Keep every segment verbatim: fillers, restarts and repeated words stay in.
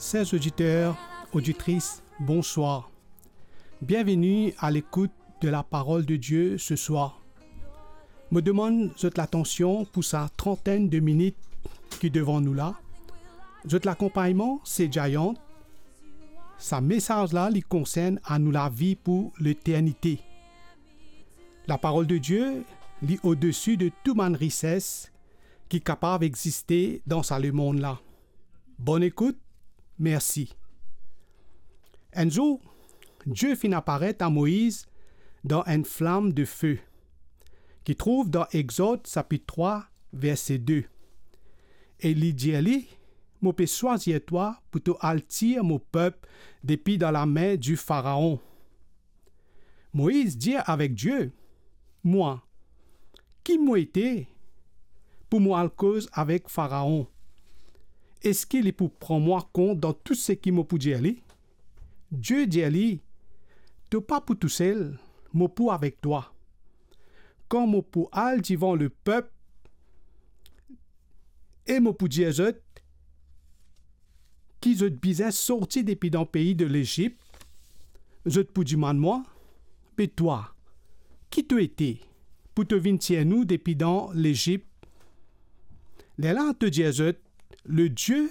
Chers auditeurs, auditrices, bonsoir. Bienvenue à l'écoute de la parole de Dieu ce soir. Mo demann zot latansion pou sa trantenn de minit ki devan nou la. Zot lakonpagnman, se Giant. Sa mesaz la, li konsern a nou lavi pou leternite. Laparol de Die, li odesi de tou bann rises ki kapav existe dan sa lemond la. Bonn ekout, mersi. Enn zour, Die finn aparet a Moiz dan enn flam de fe, ki trouv dan Exod sapit trwa, verse de. E li dir li, "Mo pe swazir twa pou to al tir mo pep depi dan lame di Faraon." Moiz dir avek Die, "Mwa, ki mo ete pou mo al koz avek Faraon? Eski li pou pran mwa kont dan tou seki mo pou dir li?" Die dir li, "To pa pou tousel, mo pou avek twa. Kan mo pou al divan lepep e mo pou dir zot ki zot bizin sorti depi dan pei de Lezip, zot pou dimann mwa, 'Be twa, ki to ete pou to vinn tir nou depi dan Lezip?' Lerla to dir zot, 'Le Die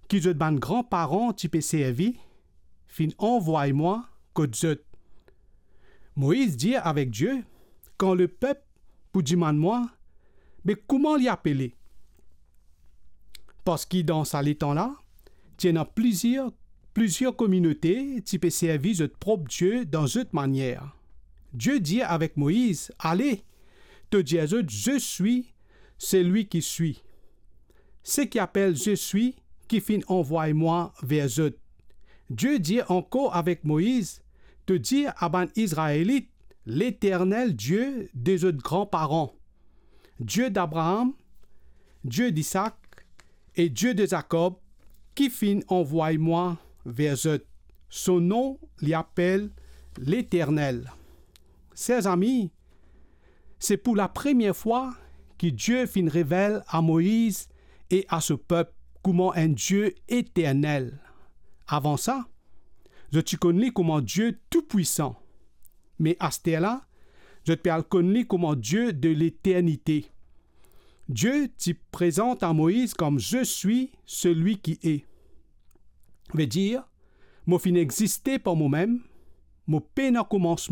ki zot bann granparan ti pe servi finn anvway mwa kot zot.'" Moiz dir avek Die, "Kan lepep pou dimann mwa, be kouma li apele?" Parski dan sa letan la, ti ena plizier, plizier kominote ti pe servi zot prop die dan zot manier. Die dir avek Moiz, "Ale, to dir zot, 'Je suis celui qui suis.' Seki apel 'Je suis' ki finn anvway mwa ver zot." Die dir ankor avek Moiz, "To dir a bann Izraelit, 'Leternel, Die de zot granparan, Die d'Abraam, Die d'Isak e Die de Zakob, ki finn anvway mwa ver zot. So nom, li apel Leternel." Ser zami, se pou lapremier fwa ki Die finn revel a Moiz e a so pep kouma enn Die eternel. Avan sa, zot ti konn li kouma Die Toupwisan. Me asterla, zot pe al konn li kouma Die de leternite. Die ti prezant a Moiz kom "Je suis celui qui est." Vedir, "Mo finn existe par momem, mo pena koumansman."